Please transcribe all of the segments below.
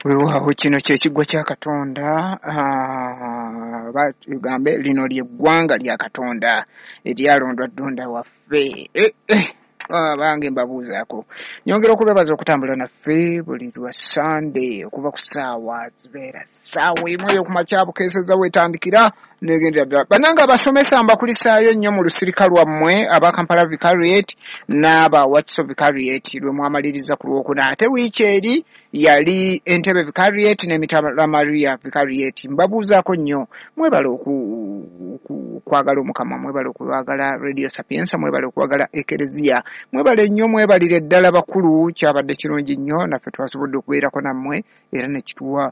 Weewaawo, kino kye kiggwa kya Katonda, tugambe lino lye ggwanga lya Katonda eryalondwa Ddonda waffe. Bange mbabuuzaako, nyongera okubebaza okutambula naffe buli lwa Sande okuva ku ssaawa zibeera 1:00 ey'okumakya, bukeeseza weetandikira negendera ddala. Bannange abasomesa, mbakulisaayo nnyo mu lusirika lwammwe aba Kampala Vicariate n'aba Wakiso Vicariate lwe mwamaliriza ku Lwokuna, ate wiiki eri yali Entebbe Vicariate n'Emitala Maria Vicariate. Mbabuuzaako nnyo, mwebale okwagala Omukama, mwebale okwagala Radio Sapienza, mwebale okwagala Ekereziya, mwebale nnyo, mwebalire ddala bakulu. Kyabadde kirungi nnyo, naffe twasobodde okubeerako nammwe era nekituwa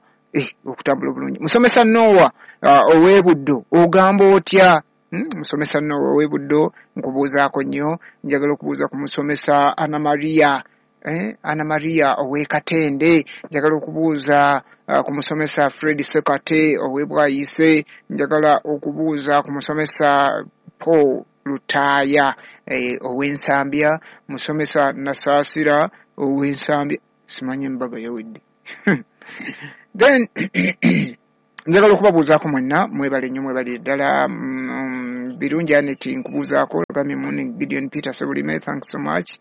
okutambula obulungi. Musomesa Nowa ow'Ebuddo, ogamba otya? Musomesa Nowa ow'Ebuddo, nkubuuzaako nnyo. Njagala okubuuza ku musomesa Ana Maria, Ana Maria ow'Ekatende. Njagala okubuuza ku musomesa Fred Sekate ow'Ebwayise. Njagala okubuuza ku musomesa Paul Lutaaya ow'Ensambya, musomesa Nasaasira ow'Ensambya, simanyi embaga yawedde. Then njagala okubabuuzaako mwenna, mwebale nnyo, mwebalire ddala. Birungi Aneti, nkubuuzaako. Gambye morning Gideon Peter Sebulime, thanks so much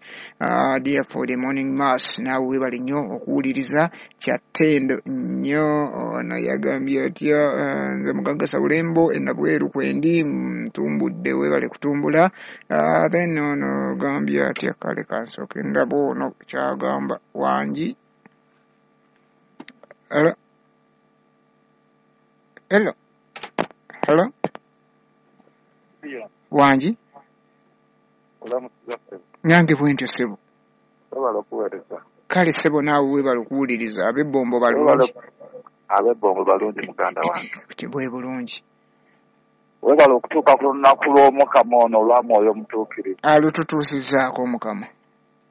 dear for the morning mass. Naawe webale nnyo okuwuliriza, kyattendo nnyo. Ono yagambye atya? Nze Mugagga Sabulembo enabweru kwendi ntumbudde, webale kutumbula. Then ono gambye atya? Kale kansooke ndaba ono kyagamba. Wangi? Hello? Hello? Hello? Wangi? Nange bwentyo, ssebo. Webale okuweereza. Kale ssebo, naawe webale okuwuliriza. Ab'ebbombo balungi? Ab'ebbombo balungi, muganda wange. Bwe bulungi. Webale okutuuka ku lunaku lw'Omukama ono olwa Mwoyo Omutuukirivu. Alututuusizaako Omukama.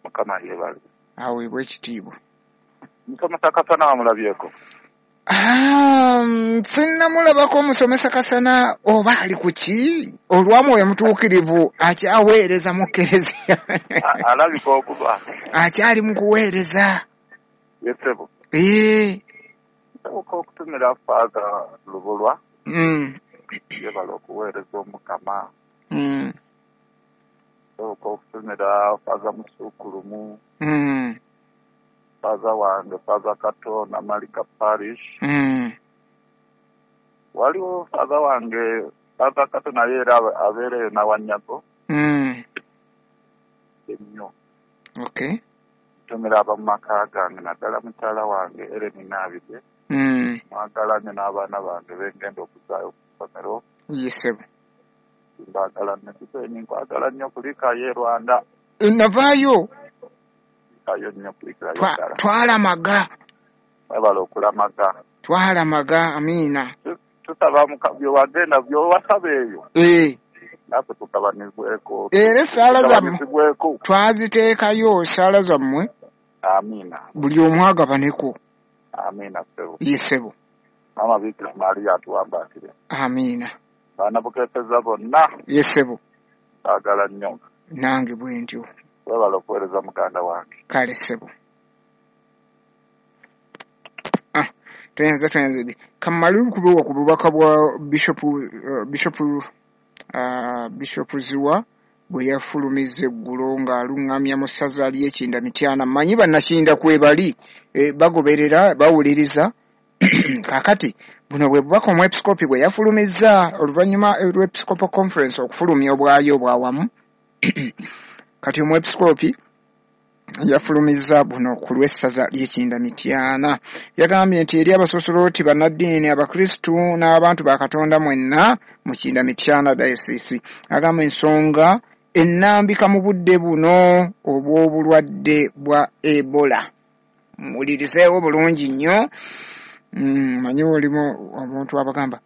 Mukama yeebale. Aweebwa ekitiibwa. Musomesa Kasana wamulabyeko? Sinnamulabako omusomesa Kasana, oba ali ku ki olwa Mwoyo Mutuukirivu, akyaweereza mu kereziya? Alabika okuba. Akyali mu kuweereza. Ye ssebo. Nsoboka okutumira Faaza Lubulwa. Yebale okuweereza Omukama. Nsoboka okutumira Faaza Musuukulumu. Faaza wange Faaza Kato Namalika Parish. Waliwo faaza wange Faaza Kato, naye era abeereyo Nawanyago. Ennyo. Ntumira abamu maka gange, naddala mukyala wange Eren Naabide. Mwagala nnyo, n'abaana bange bengenda okuzaayo ku ssomero. Ye ssebo. Mbaagala nnyo. Kisenyi, nkwagala nnyo, kulikayo e Rwanda. Navaayo. Kulikayo nnyo, kulikayo ddala. Twalamaga. Mwebale okulamaga. Twalamaga, amiina. Tusaba byewagenda byowasaba eyo. Naffe tugabanizibweko. Era essaala zammwe Tugabanizibweko. twaziteekayo, essaala zammwe. Amiina. Buli omu agabaneko. Amiina, ssebo. Ye ssebo. Maama Bikira Maria atuwambaatire. Amiina. Baana bukeeseza bonna. Ye ssebo. Baagala nnyo. Nange bwe ntyo. Webale okuweereza, muganda wange. Kale ssebo. Ah, tweyanza, tweyanzege. Kamale okubewa ku bubaka bwa Bishop Ziwa bwe yafulumiza eggulo ng'aluŋŋamya mu ssaza ly'Ekinda Mityana. Mmanyi bannakinda kwebali, bagoberera, bawuliriza. Kaakati buno bwe bubaka omwepiskopi bwe yafulumizza oluvannyuma lw'Episcopal Conference okufulumya obwayo obwawamu. Kati omwepiskopi yafulumizza buno ku lw'essaza ly'Ekinda Mityana. Yagambye nti eri abasosoloti, bannaddiini, abakristu n'abantu ba Katonda mwenna mu Kinda Mityana Diocese, agamba ensonga ennambika mu budde buno obw'obulwadde bwa Ebola, muwulirizeewo bulungi nnyo. Manyi olimu omuntu abagamba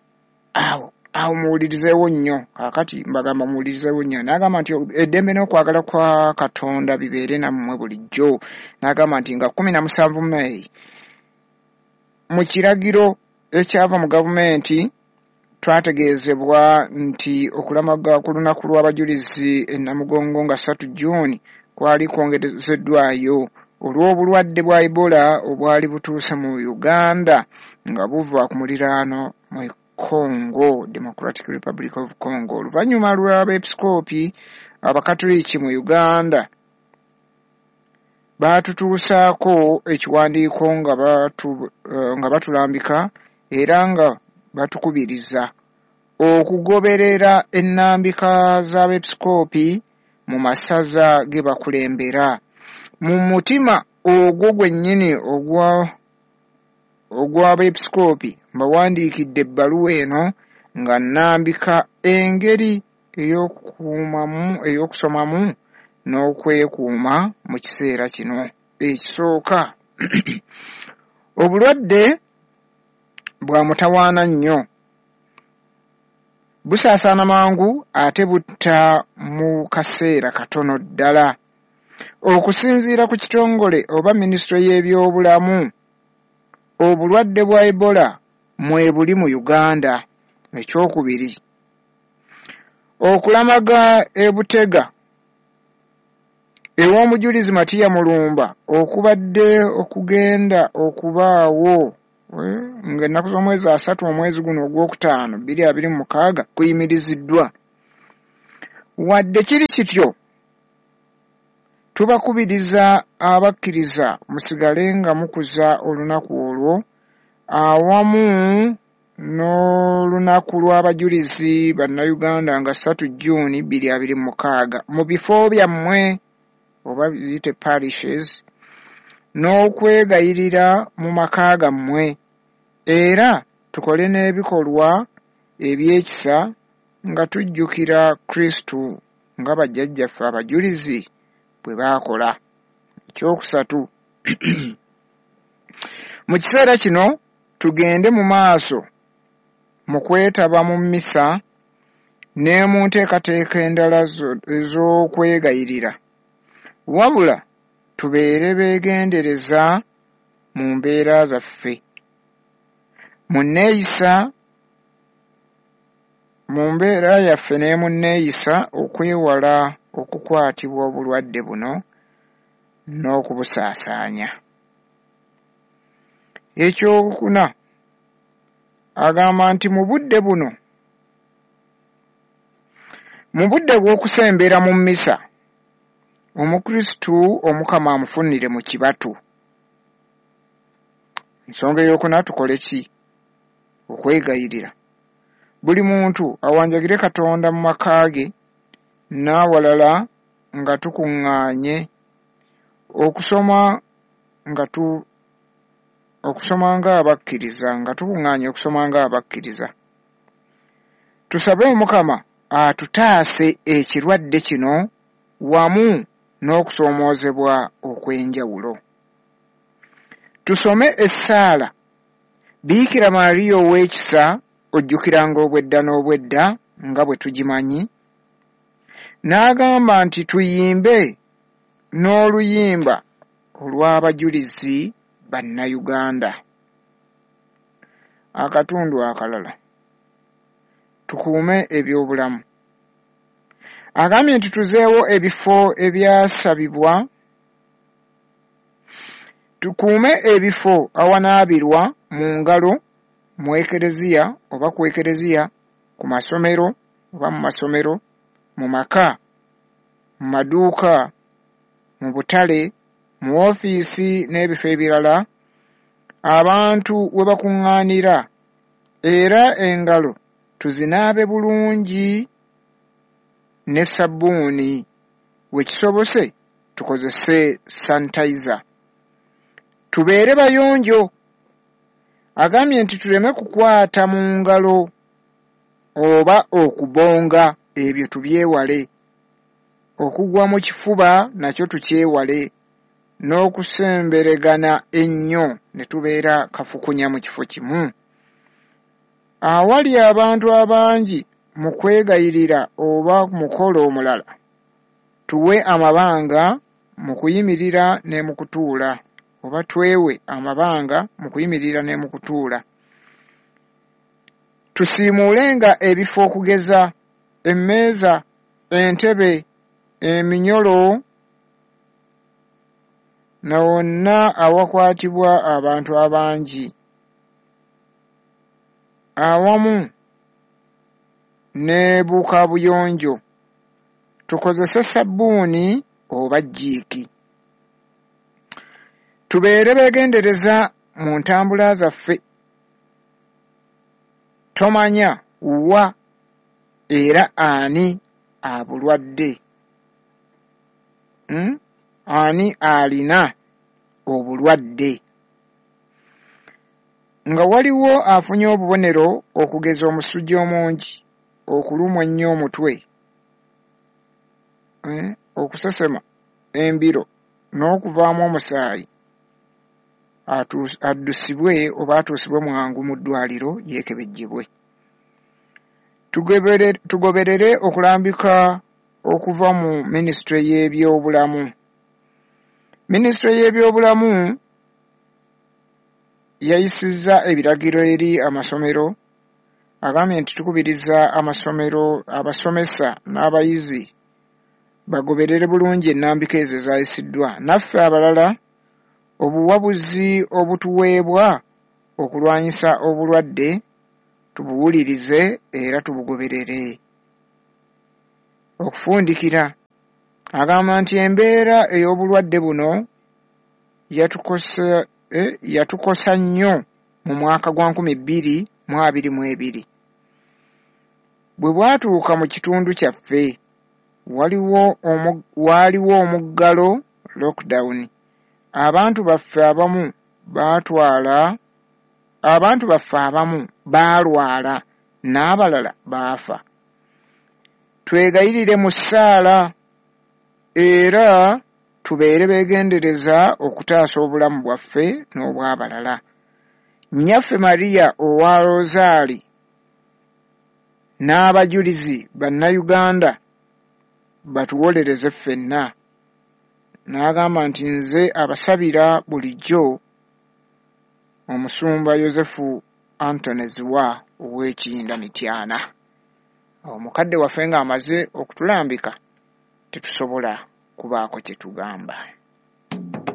awo awo, muwulirizeewo nnyo. Kaakati mbagamba muwulirizeewo nnyo. N'agamba nti eddembe n'okwagala kwa Katonda bibeere nammwe bulijjo. N'agamba nti nga 17 Meeyi, mu kiragiro ekyava mu gavumenti, twategeezebwa nti okulamaga ku lunaku lw'abajulizi e Namugongo nga 3 Juuni kwali kwongezeddwayo. olw'obulwadde bwa Ebola obwali butuuse mu Uganda nga buva ku muliraano mu Congo, Democratic Republic of Congo. Oluvannyuma lw'abeepisikoopi Abakatoliki mu Uganda baatutuusaako ekiwandiiko nga batulambika era nga batukubiriza okugoberera ennambika z'abeepisikoopi mu masaza ge bakulembera. Mu mutima ogwo gwennyini ogw'abeepisikoopi mbawandiikidde ebbaluwa eno nga nnambika engeri ey'okusomamu n'okwekuuma mu kiseera kino. Ekisooka, obulwadde bwa mutawaana nnyo, busaasaana mangu ate butta mu kaseera katono ddala. Okusinziira ku kitongole oba minisitule y'ebyobulamu, obulwadde bwa Ebola mwebuli mu Uganda. Ekyokubiri, okulamaga e Butega ew'omujulizi Matiya Mulumba okubadde okugenda okubaawo ng'ennaku z'omwezi 3 omwezi guno ogwokutaano 2026 kuyimiriziddwa. Wadde kiri kityo, tubakubiriza abakkiriza musigale nga mukuza olunaku olwo awamu n'olunaku lw'abajulizi bannayuganda nga 3 June 2026 mu bifo byammwe oba ziyite parishes n'okwegayirira mu maka gammwe, era tukole n'ebikolwa eby'ekisa nga tujjukira Kristo nga bajjajjaffe abajulizi bwe baakola. Ekyokusatu, mu kiseera kino tugende mu maaso mu kwetaba mu mmisa ne mu nteekateeka endala ez'okwegayirira, wabula tubeere beegendereza mu mbeera zaffe, mu nneeyisa, mu mbeera yaffe ne mu nneeyisa okwewala okukwatibwa obulwadde buno n'okubusaasaanya. Ekyokuna, agamba nti mu budde buno, mu budde bw'okusembera mu mmisa, Omukristu Omukama amufunire mu kibatu. Ensonga ey'okuna, tukole ki? Okwegayirira. Buli muntu awanjagire Katonda mu maka ge n'awalala nga tukuŋŋaanye okusoma ng'abakkiriza nga tukuŋŋaanye okusoma ng'abakkiriza. Tusabe Omukama atutaase ekirwadde kino wamu n'okusoomoozebwa okw'enjawulo. Tusome essaala Biikira Maria ow'ekisa ojjukiranga obwedda n'obwedda nga bwe tugimanyi. N'agamba nti tuyimbe n'oluyimba olw'abajulizi bannayuganda. Akatundu akalala, tukuume ebyobulamu. Agambye nti tuzeewo ebifo ebyasabibwa, tukuume ebifo awanaabirwa mu ngalo mu ekereziya oba ku ekereziya, ku masomero oba mu masomero, mu maka, mu maduuka, mu butale, mu ofiisi n'ebifo ebirala abantu we bakuŋŋaanira, era engalo tuzinaabe bulungi ne sabbuuni, we kisobose tukozese sanitizer. Tubeere bayonjo. Agambye nti tuleme kukwata mu ngalo oba okubonga, ebyo tubyewale. Okugwa mu kifuba nakyo tukyewale, n'okusemberegana ennyo ne tubeera kafukunya mu kifo kimu. Awali abantu abangi mu kwegayirira oba mukolo omulala, tuwe amabanga mu kuyimirira ne mu kutuula, oba twewe amabanga mu kuyimirira ne mu kutuula. Tusiimuulenga ebifo okugeza emmeeza, entebe, eminyolo Na wonna awakwatibwa abantu abangi awamu ne bukabuyonjo tukozese sabbuuni oba jjiiki. Tubeere beegendereza mu ntambula zaffe, tomanya wa era ani abulwadde, ani alina obulwadde. Nga waliwo afunye obubonero okugeza omusujja omungi, okulumwa ennyo omutwe, okusesema embiro n'okuvaamu omusaayi, addusibwe oba atuusibwe mwangu mu ddwaliro yeekebejjebwe. Tugoberere okulambika okuva mu minisitule y'ebyobulamu. Minisitule y'ebyobulamu yayisizza ebiragiro eri amasomero, agambye nti tukubiriza amasomero, abasomesa n'abayizi bagoberere bulungi ennambika ezo ezayisiddwa. Naffe abalala obuwabuzi obutuweebwa okulwanyisa obulwadde tubuwulirize era tubugoberere. Okufundikira agamba nti embeera ey'obulwadde buno yatukosa nnyo mu mwaka gwa 2022. Bwe bwatuuka mu kitundu kyaffe waaliwo omuggalo lockdown. Abantu baffe abamu baalwala n'abalala baafa. Twegayirire mu ssaala era tubeere beegendereza okutaasa obulamu bwaffe n'obw'abalala. Nnyaffe Maria owa Rosaali n'abajulizi bannayuganda batuwolereze ffenna. N'agamba nti nze abasabira bulijjo omusumba Yosefu Antony Ziwa ow'Ekiyinda Mityana. Omukadde waffe ng'amaze okutulambika tetusobola kubaako kye tugamba.